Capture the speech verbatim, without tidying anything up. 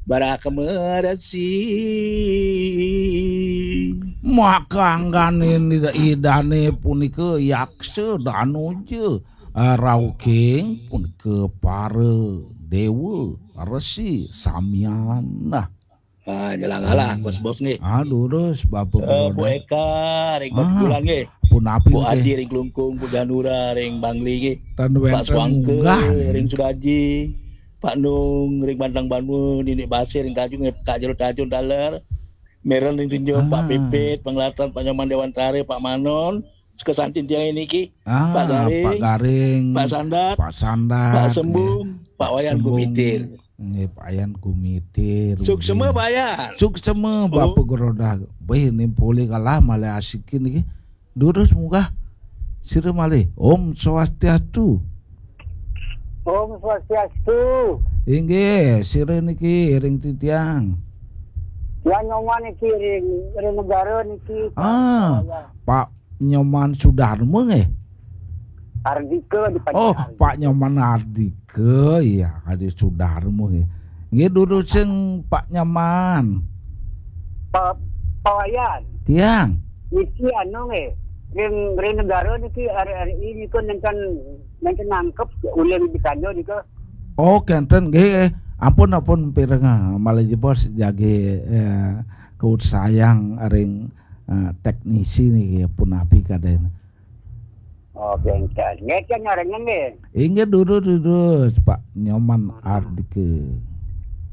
Baraka meresi. Maka anggane ida-idane punika yaksa danuja, ah, rauking punika para dewa, resi, samian. Nah. Ah, nyelang alah, bos-bos nggih. Aduh, terus Bapak Eh, Bu Eka ring Batubulan nggih. Punapi Bu nggih? Adi ring Klungkung, Bu Ganura ring Bangli nggih. Tan Pak wenten Swangke munggah. Ring Sudaji, Pak Nung ring Bantang Banua, Nini Basir ring Tanjung, Kak Jero Tanjung taler. Meren ring Tunjung, Pak Ah. Pipit, Penglatan, Pak Nyoman Dewantara, Pak Manon, sekesantin tiang niki. Ah, Pak Garing, Pak Garing, Pak Sandat, Pak Sandat, Pak Sembung, nggih. Pak Wayan Sembung, Gumitir. Nggih, Pak Wayan Gumitir, suksema, nggih. Pak Wayan. Suksema, oh. Bapak Gerodah. Wih, ini polih kalah malih asikin niki. Durus munggah. Sira malih. Om Swastiastu. Om Swastiastu. Inggih, sira niki ring titiang. Tiang Nyoman niki ring, ring negara niki, Pak. Ah, Pak Nyoman Sudarma nggih? Ardika di Pak. Oh, Ardika. Pak Nyoman Ardika, iya, Adi Sudarma nggih. Nggih, durus sing Pak Nyoman. Pak, Pak Wayan. Tiang. Niki anu nggih, ring, ring negara niki R R I niku nenten, nenten nangkep ulih di Kanjo niku. Oh, kenten nggih. Ampun, ampun, pireng, ah, malih jebos jagi, eh, kaut sayang ring, eh, teknisi niki, punapi kaden. Oh, kenten. Nggih, kan nyarengan nggih. Inggih, durus, durus, Pak Nyoman Ardika.